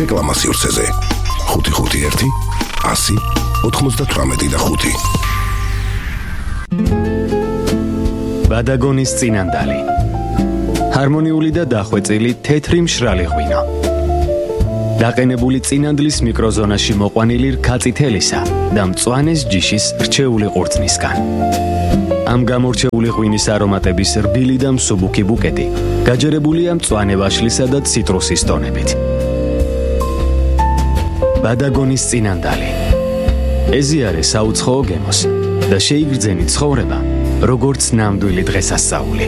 რეკლამა სივრცეზე. 551 100 98 ბადაგონის წინანდალი. ჰარმონიული და დახვეწილი თეთრი მშრალი ღვინო. დაყენებული წინანდლის მიკროზონაში მოყვანილი რქაწითელისა და მწვანეს ჯიშის რჩეული ყურძნისგან. ამ გამორჩეული ღვინის არომატების რბილი და მსუბუქი ბუკეტი გაჯერებულია მწვანე ვაშლისა და ციტრუსის ტონებით. ბადაგონის წინანდალი. ეზიარე საუცხოო გემოს და შეიგრძენი ცხოვრება, როგორც ნამდვილი დღესასწაული.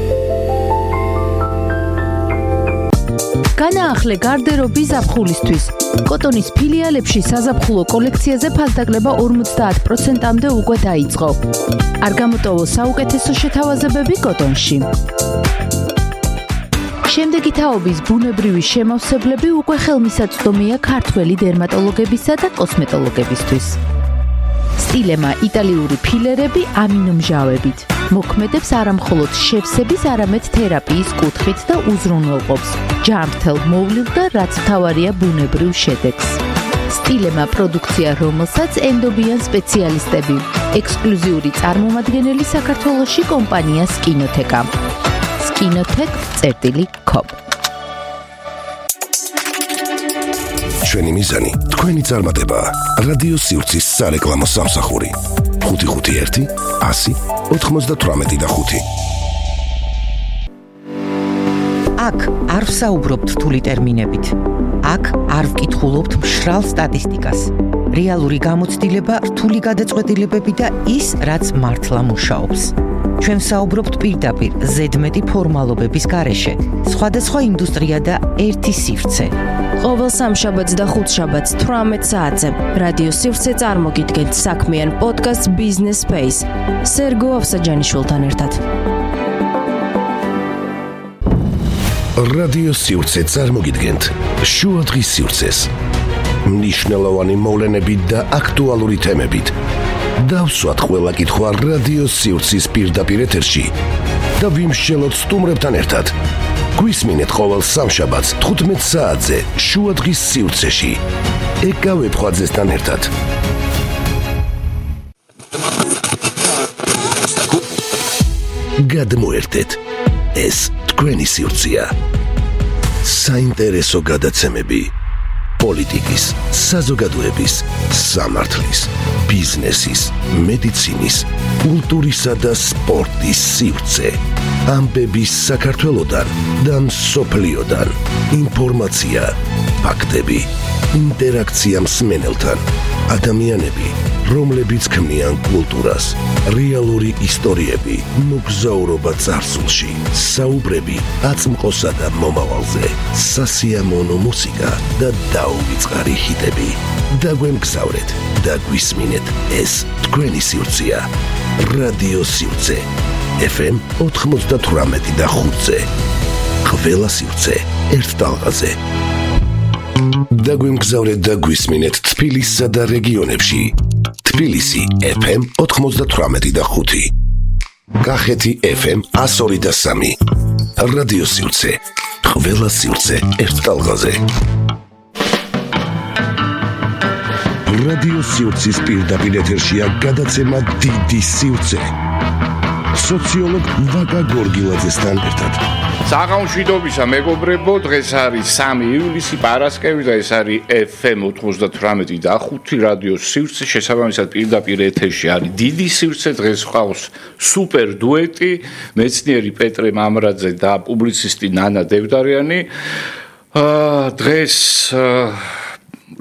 განაახლე გარდერობი ზაფხულისთვის. კოტონის ფილიალებში საზაფხულო კოლექციაზე ფასდაკლება 50%-მდე უკვე დაიწყო. არ გამოტოვო საუკეთესო შეთავაზებები კოტონში. შემდეგი თაობის ბუნებრივი შემავსებლები უკვე ხელმისაწვდომია ქართველი დერმატოლოგებისა და კოსმეტოლოგებისთვის. სტილემა იტალიური ფილერები ამინომჟავებით. მოქმედებს არამხოლოდ შევსების, არამედ თერაპიის კუთხით და უზრუნველყოფს ჯანმრთელ მოვლილ და რაც მთავარია ბუნებრივ შედეგს. სტილემა პროდუქცია, რომელსაც ენდობიან სპეციალისტები. ექსკლუზიური წარმომადგენელი საქართველოში კომპანია სკინოთეკა. skinotech.com. ჩვენი მიზანი თქვენი წარმატება. რადიო სივრცის სარეკლამო სამსახური. 551 100 98 აქ არ ვსაუბრობთ რთული ტერმინებით. აქ არ ვკითხულობთ მშრალ სტატისტიკას. რეალური გამოცდილება, რთული გადაწყვეტილებები და ის, რაც მართლა მუშაობს. ჩვენ ვსაუბრობთ პირდაპირ ზედმეტი ფორმალობების გარეშე. სხვადასხვა ინდუსტრია და ერთი სივრცე. ყოველ სამშაბათს და ხუთშაბათს 18 საათზე რადიო სივრცე წარმოგიდგენთ საქმიან პოდკასტ Business Space სერგო ავსაჯანიშვილთან ერთად. რადიო სივრცე წარმოგიდგენთ შუადღის სივრცეს. მნიშვნელოვანი მოვლენებით და აქტუალური თემებით. დავსვათ ყველა კითხვა რადიო სივრცის პირდაპირ ეთერში და ვიმსჯელოთ სტუმრებთან ერთად. გვისმინეთ ყოველ სამშაბათს 15 საათზე შუადღის სივრცეში. ეკავე ფხვაძესთან ერთად. გადმოერთეთ. ეს თქვენი სივრცეა. საინტერესო გადაცემები. პოლიტიკის, საზოგადოების, სამართლის, ბიზნესის, მედიცინის, კულტურისა და სპორტის სივრცე. ამბები საქართველოდან და მსოფლიოდან. ინფორმაცია, ფაქტები, ინტერაქცია მსმენელთან. ადამიანები, რომლებიც ქმნიან კულტურას, რეალური ისტორიები, მოგზაურობა წარსულში, საუბრები აწმყოსა და მომავალზე, სასიამოვნო მუსიკა და დაუვიწყარი ჰიტები. დაგვემგზავრეთ და გვისმინეთ, ეს თქვენი სივრცეა. რადიო სივრცე FM 98 და 5-ზე. ყველა სივრცე ერთ ტალღაზე. დაგვემგზავრეთ და გვისმინეთ თბილისსა და რეგიონებში. თბილისი FM 98 და 5. კახეთი FM 102 და 3. რადიო სივრცე. ყველა სივრცე ერთ ტალღაზე. რადიო სივრცის პირდაპირ ეთერშია გადაცემა დიდი სივრცე. სოციოლოგ ვაკა გორგილაძესთან ერთად. საღამოშვიდობისა მეგობრებო, დღეს არის 3 ივლისი პარასკევი და ეს არის FM 98 და 5 რადიო სივრცე. შესაბამისად პირდაპირ ეთერში არის დიდი სივრცე. დღეს ყავს სუპერ დუეტი, მეცნიერი პეტრე მამრაძე და პუბლიცისტი ნანა დევდარიანი. დღეს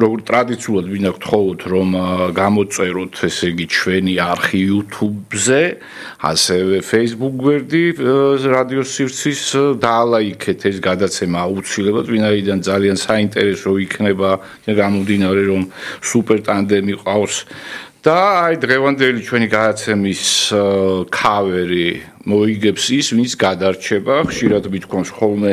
როგორც ტრადიციულად მინდა გთხოვოთ რომ გამოწეროთ ესე იგი ჩვენი არხი YouTube-ზე, ასევე Facebook გვერდი რადიო სივრცის დაალაიქეთ ეს გადაცემა აუცილებლად, ვინაიდან ძალიან საინტერესო იქნება გამომდინარე რომ სუპერ ტანდემი ყავს და აი დღევანდელი ჩვენი გადაცემის ქავერი მოიგებს ის, ვინც გადარჩება, ხშირად მithქვამს ხოლმე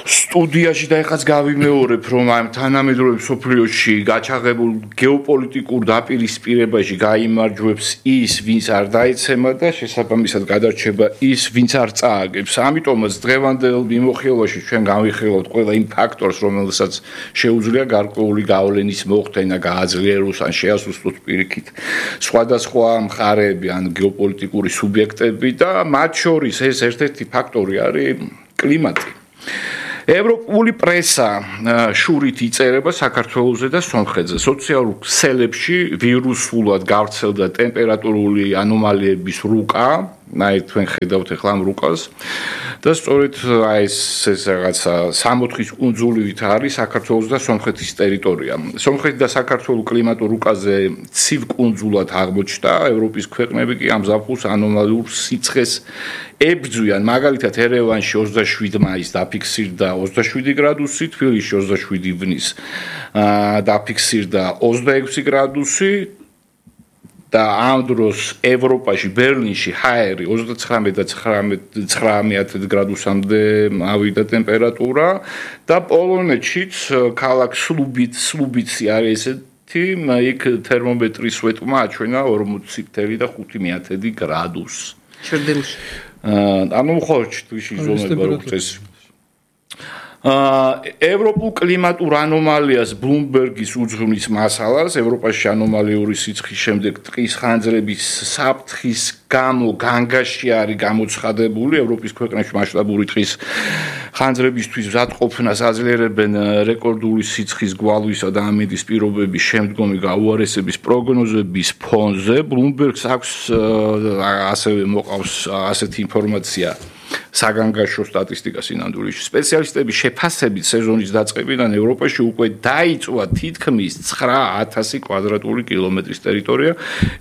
სტუდიაში და ეხაც გავიმეორებ, რომ ამ თანამედროვე მსოფლიოში გაჩაღებულ გეოპოლიტიკურ დაპირისპირებაში გაიმარჯვებს ის, ვინც არ დაეცემა და შესაბამისად გადარჩება ის, ვინც არ წააგებს. ამიტომაც დღევანდელ მიმოხილვაში ჩვენ გავიხილავთ ყველა იმ ფაქტორს, რომელსაც შეუძლია გარკვეული გავლენის მოხდენა, გააძლიეროს ან შეასუსტოს პირიქით სხვადასხვა მხარეები ან გეოპოლიტიკური სუბიექტები და მათ შორის ეს ერთ-ერთი ფაქტორი არის კლიმატი. ევროპული პრესა შურით იწერება საქართველოზე და სომხეთზე. სოციალურ ქსელებში ვირუსულად გავრცელდა ტემპერატურული ანომალიების რუკა, თქვენ ხედავთ ახლა ამ რუკას და სწორედ ეს რაღაცა 64-ის კუნძულივით არის საქართველოს და სომხეთის ტერიტორია. სომხეთი და საქართველოს კლიმატურ რუკაზე ცივ კუნძულად აღმოჩნდა, ევროპის ქვეყნები კი ამ ზაფხულს ანომალიურ სიცხეს ებრძვიან. მაგალითად ერევანში 27 მაისს დაფიქსირდა 27 გრადუსი, თბილისში 27 ივნის დაფიქსირდა 26 გრადუსი და ამ დროს ევროპაში ბერლინში ჰაერი 39 და 19 გრადუსამდე ავიდა ტემპერატურა და პოლონეთშიც ქალაქ სლუბიცი არის ესეთი, იქ თერმომეტრის სვეტმა აჩვენა 40.5 გრადუსს. ჩრდილში. ანუ ხო თვიში ზომება როგორც ეს ევროპულ კლიმატურ ანომალიას ბლუმბერგის უძღვნის მასალას ევროპაში ანომალიური სიცხის შემდეგ ტყის ხანძრების საფრთხის გამო განგაში არის გამოცხადებული ევროპის ქვეყნებში მასშტაბური ტყის ხანძრებისთვის მზადყოფნას აძლიერებენ რეკორდული სიცხის გვალვისა და ამინდის პირობების შემდგომი გაუარესების პროგნოზების ფონზე ბლუმბერგს აქვს ასევე მოყავს ასეთი ინფორმაცია საგანგაშო სტატისტიკა სინამდვილეში სპეციალისტების შეფასებით სეზონის დაწყებიდან ევროპაში უკვე დაიწვა თითქმის 9000 კვადრატული კილომეტრის ტერიტორია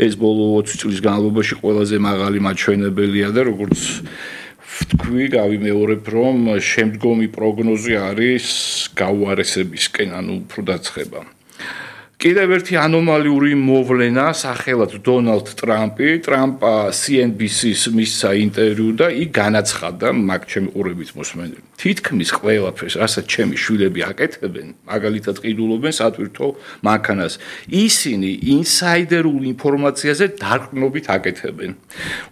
ეს ბოლო 20 წლის განმავლობაში ყველაზე მაღალი მაჩვენებელია და როგორც ვთქვი გავიმეორებ რომ შემდგომი პროგნოზი არის გაუარესებისკენ ანუ უფრო დაცხება კიდევ ერთი ანომალიური მოვლენა სახელად დონალდ ტრამპი ტრამპა CNBC-ს მისცა ინტერვიუ და იქ განაცხადა მაგ ჩემი ყურებით მოსმენელი თითქმის ყველაფერს რასაც ჩემი შვილები აკეთებენ მაგალითად ყიდულობენ სატვირთო მანქანას ისინი ინსაიდერულ ინფორმაციაზე დარყნობით აკეთებენ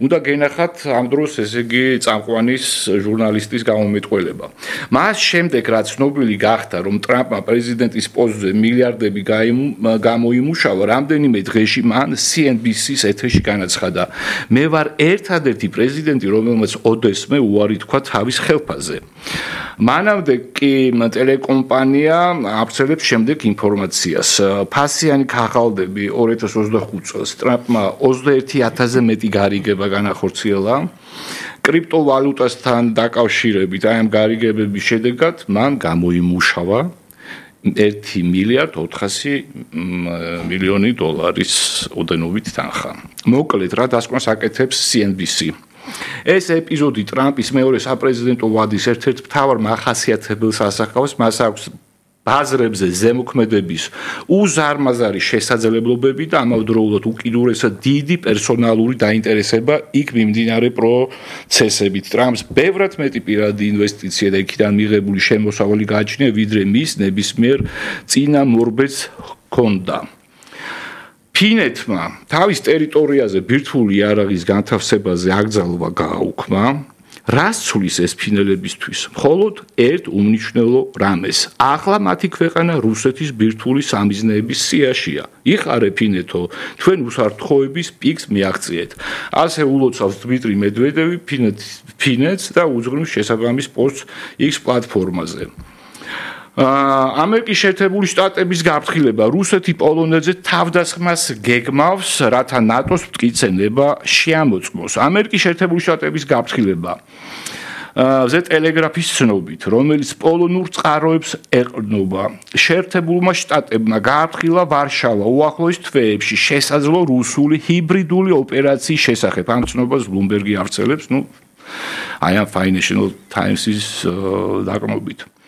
უნდა გენახათ ამ დროს ესე იგი წამყვანის ჟურნალისტის გამომეტყველება მას შემდეგ რაც ცნობილი გახდა რომ ტრამპმა პრეზიდენტის პოსტზე მილიარდები გამოიმუშავა რამდენიმე დღეში მან CNBC-ს ეთერში განაცხადა მე ვარ ერთადერთი პრეზიდენტი რომელმაც ოდესმე უარი თქვა თავის ხელფასზე მანამდე კი ტელეკომპანია აბსოლუტურად შემდეგ ინფორმაციას ფასიანი ქაღალდები 2025 წელს ტრამპმა 21000-ზე მეტი გარიგება განახორციელა კრიპტოვალუტასთან დაკავშირებით აი ამ გარიგებების შედეგად მან გამოიმუშავა $1 მილიარდ 400 მილიონი დოლარის ოდენობით თანხა. მოკლედ რა დასკვნას აკეთებს CNBC. ეს ეპიზოდი ტრამპის მეორე საპრეზიდენტო ვადის ერთ-ერთ მთავარ მახასიათებელს ასახავს, მას აქვს ბაზრებზე ზემოქმედების უზარმაზარი შესაძლებლობები და ამავდროულად უკიდურესად დიდი პერსონალური დაინტერესება იქ მიმდინარე პროცესებით. ტრამპს ბევრად მეტი პირადი ინვესტიცია და იქიდან მიღებული შემოსავალი გააჩნია, ვიდრე მის ნებისმიერ წინამორბედს ჰქონდა. ფინეთმა თავის ტერიტორიაზე ბირთვული იარაღის განთავსებაზე აკრძალვა გააუქმა. რას ცulis ეს ფინელებისთვის? მხოლოდ ერთ უმნიშვნელო რამეს. ახლა მათი ქვეყანა რუსეთის ბირთვული სამიზნეების სიაშია. იხარე ფინეთო, თქვენ უსაფრთხოების პიკს მიაღწიეთ. ასე ულოცავს დმიტრი მედვედევი ფინეთს და უძღვნის შესაბამის პოსტს X პლატფორმაზე. ამერიკის შეერთებული შტატების გაფრთხილება რუსეთი პოლონეთზე თავდასხმას გეგმავს, რათა ნატოს მტკიცება შეამოწმოს. ამერიკის შეერთებული შტატების გაფრთხილება ზე ტელეგრაფის ცნობით, რომელიც პოლონურ წყაროებს ეყრდნობა. შეერთებულმა შტატებმა გააფრთხილა ვარშავა უახლოეს თვეებში შესაძლო რუსული ჰიბრიდული ოპერაციის შესახებ. ამ ცნობას ბლუმბერგი ავრცელებს, აი ამ Financial Times-ის დაკრმობით.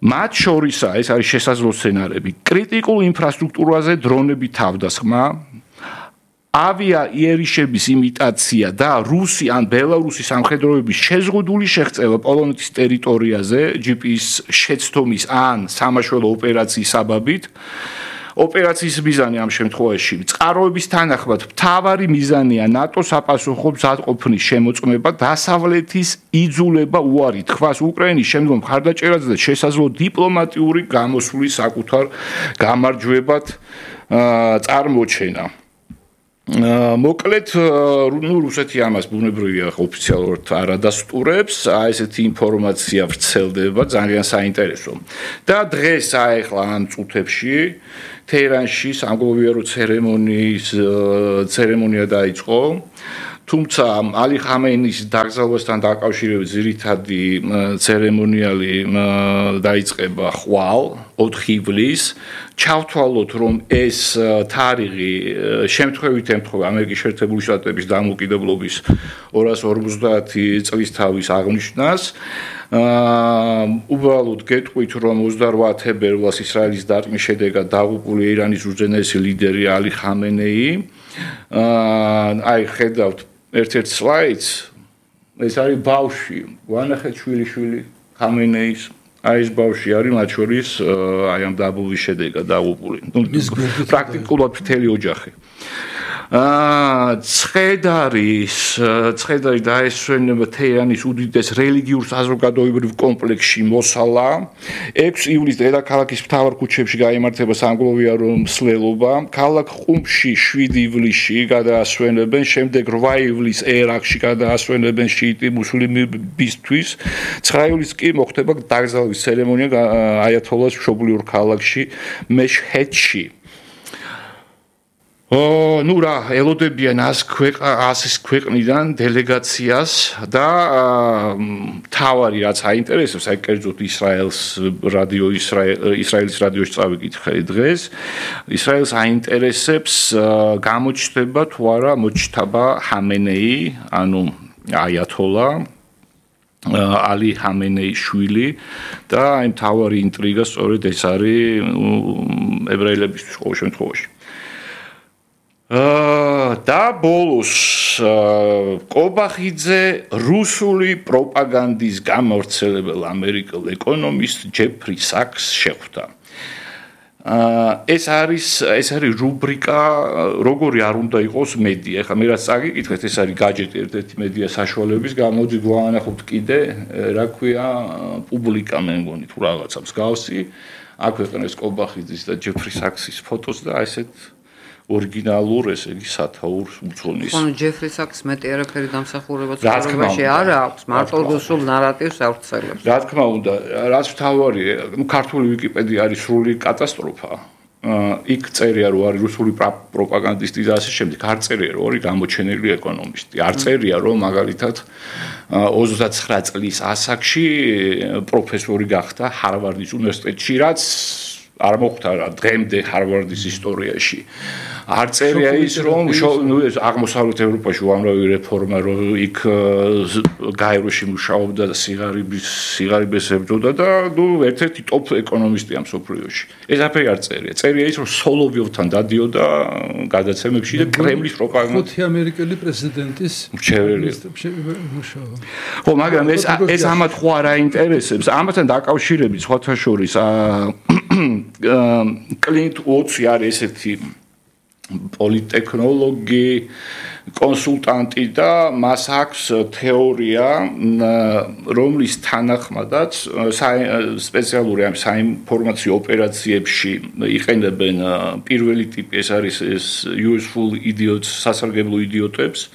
მათ შორისაა ეს არის შესაძლო სცენარები კრიტიკულ ინფრასტრუქტურაზე დრონები თავდასხმა ავია იერიშების იმიტაცია და რუსი ან ბელარუსის სამხედროების შეზღუდული შეღწევა პოლონეთის ტერიტორიაზე GPS შეცდომის ან სამაშველო ოპერაციის საბაბით ოპერაციის მიზანი ამ შემთხვევაში წყაროების თანახმად მთავარი მიზანია ნატოს საპასუხო მზადყოფნის შემოწმება დასავლეთის იძულება უარი თქვას უკრაინის შემდგომ მხარდაჭერაზე და შესაძლო დიპლომატიური გამოსვლის საკუთარ გამარჯვებად წარმოჩენა მოკლედ რუსეთი ამას ბუნებრივია ოფიციალურად არ ადასტურებს ესეთი ინფორმაცია ვრცელდება ძალიან საინტერესო და დღეს ახლა ამ წუთებში თეირანში სამგლოვიარო ცერემონია დაიწყო თუმცა ალი ხამეინის დაკრძალვასთან დაკავშირებით ძირითადი ცერემონიალი დაიწყება ხვალ 4 ივლისს ჩავთვალოთ რომ ეს თარიღი შემთხვევით ემთხვევა ამერიკის შეერთებული შტატების დამოუკიდებლობის 250 წლისთავის აღნიშვნას უბრალოდ გეტყვით რომ 28 თებერვალს ისრაელის დარტყმის შედეგად დაღუპული ირანის უზენაესი ლიდერი ალი ხამენეი აი ხედავთ ერთ-ერთ სლაიდს ეს არის ბავშვი ვანახეთ შვილიშვილი ხამენეის აი ეს ბავშვი არის მათ შორის აი ამ დაბობის შედეგად დაღუპული პრაქტიკულად მთელი ოჯახი ცხედარი დაესვენება თეირანის უდიდეს რელიგიურ საზოგადოებრივ კომპლექსში მოსალა 6 ივლისს დედაქალაქის მთავარ ქუჩებში გაიმართება სამგლოვიარო მსვლელობა ქალაქ ყუმში 7 ივლისში გადაასვენებენ შემდეგ 8 ივლისს ერაყში გადაასვენებენ შიიტი მუსლიმებისთვის 9 ივლისს კი მოხდება დაკრძალვის ცერემონია აიათოლას მშობლიურ ქალაქში მეშჰედში ნუ რა ელოდებიან 100 ქვეყნიდან დელეგაციას და თავარი რაც აინტერესებს აი კერძოდ ისრაელის რადიოში წავიკითხე დღეს ისრაელს აინტერესებს გამოჩნდება თუ არა მოჩთაბა ჰამენეი ანუ აიათოლა ალი ჰამენეის შვილი და აი თავარი ინტრიგა სწორედ ეს არის ებრაელებისთვის ყოველ შემთხვევაში და ბოლოს კობახიძე რუსული პროპაგანდის გამავრცელებელ ამერიკელ ეკონომისტ ჯეფრი საკს შეხვდა ეს არის რუბრიკა როგორი არ უნდა იყოს მედია ეხლა მე რაც წაგიკითხეთ ეს არის გაჯეტი ერთ-ერთი მედია საშუალების გამოდით ვანახოთ კიდე რა ქვია პუბლიკა მე მგონი თუ რაღაცა მსგავსი აქ ეყნეს კობახიძის და ჯეფრი საქსის ფოტოს და ესეთ ორიგინალურ ესე იგი სათაურს უძღვნის. ხო, ჯეფრი საკს მეტი არაფერი დამსახურება ცხოვრებაში არ აქვს, მარტო რუსულ ნარატივს ავრცელებს. რა თქმა უნდა, რაც თავარია, ქართული ვიკიპედია არის სრული კატასტროფა. იქ წერია რომ არის რუსული პროპაგანდისტი და ასე შემდეგ, არ წერია რომ არის გამოჩენილი ეკონომისტი. არ წერია რომ მაგალითად 29 წლის ასაკში პროფესორი გახდა ჰარვარდის უნივერსიტეტში, რაც არ მოხდა რა დღემდე ჰარვარდის ისტორიაში არ წერია ის რომ აღმოსავლეთ ევროპაში უამრავი რეფორმა რომ იქ გაეროში მუშაობდა და სიგარებს ებრძოდა და ნუ ერთ-ერთი ტოპ ეკონომისტია მსოფლიოში ეს აფერი არ წერია წერია ის რომ სოლოვიოვთან დადიოდა გადაცემებში და კრემლის პროპაგანდა ხუთი ამერიკელი პრეზიდენტის მუშაობა ხო მაგრამ ეს ამათ ხო არ აინტერესებს ამათთან დაკავშირებით სხვათა შორის კლინტ უოტსი არის ესეთი პოლიტექნოლოგი კონსულტანტი და მას აქვს თეორია რომლის თანახმადაც სპეციალური ამ საინფორმაციო ოპერაციებში იყენებენ პირველი ტიპი ეს არის ეს useful idiots სასარგებლო იდიოტებს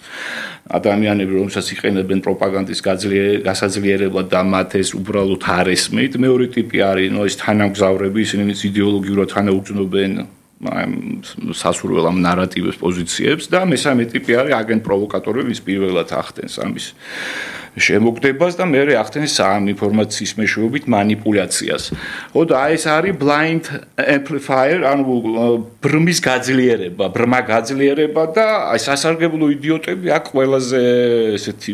ადამიანები რომელსაც იყენებენ პროპაგანდის გასაძლიერებლად და მათ ეს უბრალოდ არ ესმით მეორე ტიპი არის ნუ ეს თანამგზავრები ისინი იდეოლოგიურად თანაუგრძნობენ სასურველ ამ ნარატივებს პოზიციებს და მესამე ტიპი არის აგენტ პროვოკატორები ვის პირველად ახდენს ამის შემოგდებას და მეორე ახდენს ამ ინფორმაციის მეშვეობით манипуляციას. ხო და ეს არის blind amplifier, ანუ ბრმა გაძლიერება და აი სასარგებლო იდიოტები აქ ყველაზე ესეთი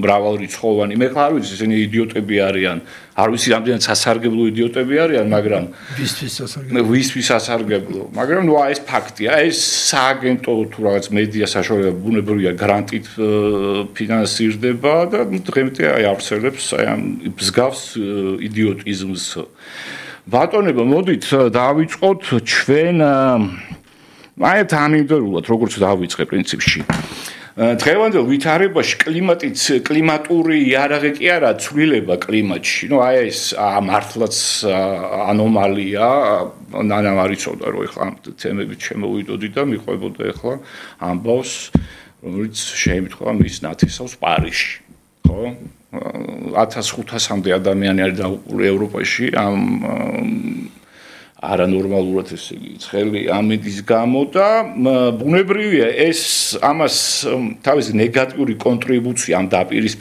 მრავალრიცხოვანი. მე ხარ ვიცი, ესენი იდიოტები არიან არ ვიცი რამდენად სასარგებლო იდიოტები არიან, მაგრამ ვისთვის სასარგებლო, მაგრამ ნუ ეს ფაქტია, ეს სააგენტო თუ რაღაც მედია საშუალება ბუნებრივია გრანტით ფინანსირდება და დღემდე აი არსებობს აი ამ მსგავს იდიოტიზმს. ბატონებო, მოდით დავიწყოთ ჩვენ აი თანმიმდევრულად როგორც დავიწყე პრინციპში. დღევანდელ ვითარებაში კლიმატური იარაღი კი არა, ცვლილება კლიმატში. ნუ აი ეს მართლაც ანომალია, ნანამ არ იცოდა რომ ეხლა ამ თემებით შემოვიდოდი და მიყვებოდა ეხლა ამბავს, რომელიც შეემთხვა მის ნათესავს პარიზში, ხო? 1500-მდე ადამიანი არის დაუყურე ევროპაში ამ არანორმალურად ესე იგი ცხელი ამინდის გამო და ბუნებრივია ეს ამას თავისი ნეგატიური კონტრიბუცია ამ დაპირისპირებას